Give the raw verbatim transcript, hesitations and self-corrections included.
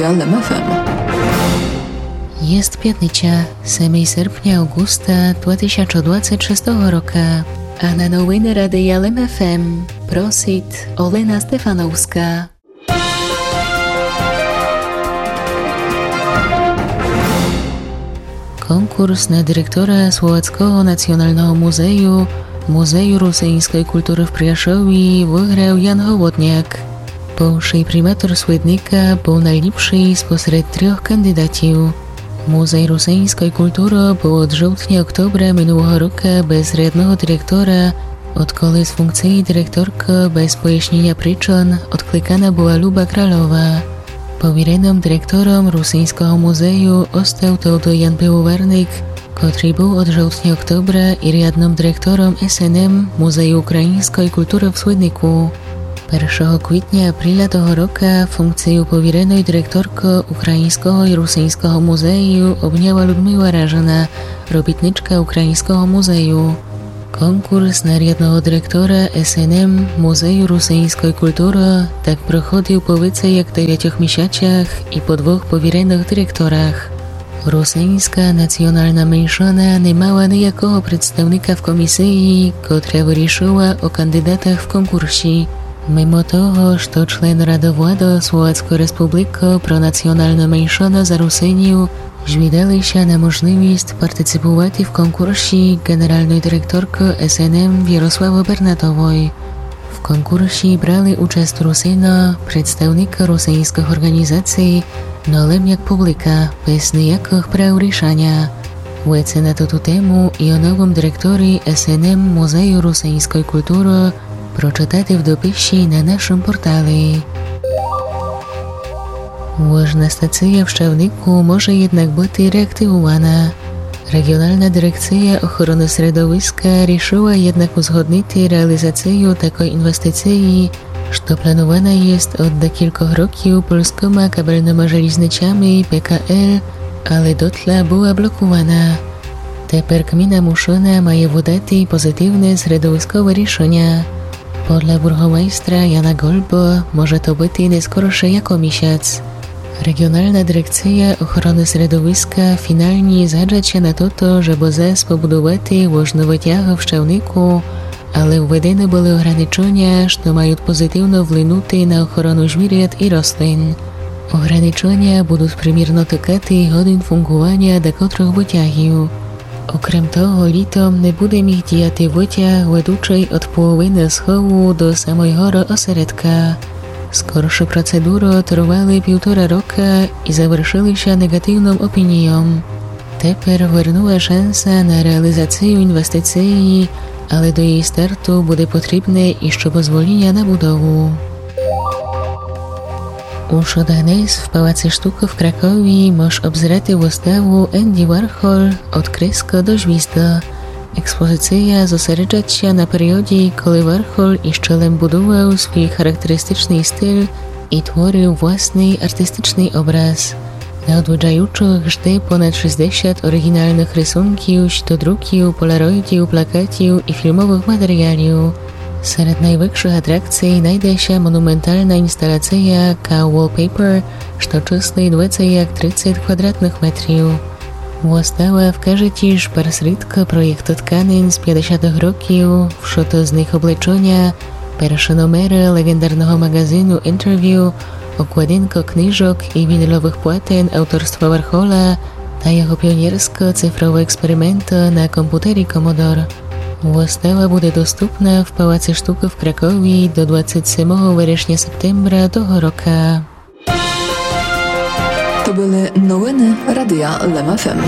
Лем ФМ. Єст пятниця, семый серпня, авґуста, два тисячы двадцет шестого рока. А на новины Радия Лем ФМ просит Олена Стефановска. Конкурс на директора Словацкого националного музею, Музею русиньской културы в Пряшові, выграл Ян Голодняк. Бывшый приматор Свидника быв найліпшый спосеред трьох кандидатів. Музей русиньской културы быв од жовтня-октобра минулого рока без рядного директора, одколи з функциі директоркы без пояснєня причын одкликана была Люба Кралова. Повіреным директором Русиньского музею остал товды Ян Пивоварник, котрый быв од жовтня-октобра і рядным директором СНМ Музею україньской културы в Свиднику. Першого квітня-апріля того рока функцию повіреной директоркы Україньского і Русиньского музею обняла Людмила Ражина, робітничка Україньского музею. Конкурс на рядного директора СНМ Музею русиньской културы так проходил по вецей як девятьох місяцях і по двох повіреных директорах. Русиньска национална меншына не мала ниякого представника в комісиі, котра вырішыла о кандидатах в конкурсі. Мимо того, што член Рады влады Словацкой Республикы про националну меншыну за Русинів жвідали ся на можливіст партиципувати в конкурсі ґенералной директоркы СНМ Ярославы Бернатовой. В конкурсі брали участ Русины, представникы русиньскых орґанізаций, но лем як публика, без ниякых прав рішаня. Веце на тоту тему і о новым директорі СНМ Музею русиньской културы прочытати в дописі на нашым порталі. Вожна стация в Щавнику може єднак быти реактивувана. Реґіонална дирекция охороны средовиска рішыла єднак узгоднити реалізацию такой інвестициі, што планувана єст од декількох років польскыма кабельныма желізничами ПКЛ, але дотла была блокувана. Тепер ґміна Мушына має выдати позитивне средовискове рішыня. Подля бургомайстра Яна Гольбы може то быти не скорше як о місяц. Реґіонална дирекция охороны средовиска фіналні згаджа ся на тото, жебы зас побудувати вожны вытягы в Щавнику, але введены были ограничыня, што мают позитивно вплинути на охорону звірят і рослин. Ограничыня будут примірно тыкати годин фунґуваня декотрых вытягів. Окрем того, літом не буде міг діяти вытяг, ведучый од половины схову до самой горы осередка. Скоршы процедуры тривали півтора рока і завершыли ся неґативным опінійом. Тепер вернула шанса на реалізацию інвестициі, але до єї старту буде потрібне іщы позволіня на будову. Уж од днес в Палаці штукы в Кракові мож обзерати выставу Енді Вархол: од креска до звізды. Експозиция зосереджат ся на періодї, коли Вархол іщы лем будувал свій характеристичный стиль і творил власный артистичный образ. На одвіджаючых жде понад шістдесят оріґіналных рисунків, штодруків, полароїдів, плакатів і фільмовых матеріалів. Серед найвекшых атракций найде ся монументална інсталация Cow Wallpaper, што чыслит вецей як тридцет квадратных метрів. Выстава вкаже тіж пар зрідка проєкты тканин з пятдесятых років, вшыты з них облечыня, першы номеры леґендарного маґазину Interview, окладинка книжок і вініловых платен авторства Вархола та його піонерска цифрова експеримента на компютері Commodore. Выстава буде доступна в Палаці штукы в Кракові до двадцет семого верешня-септембра того рока. То были новины Радия Лем ФМ.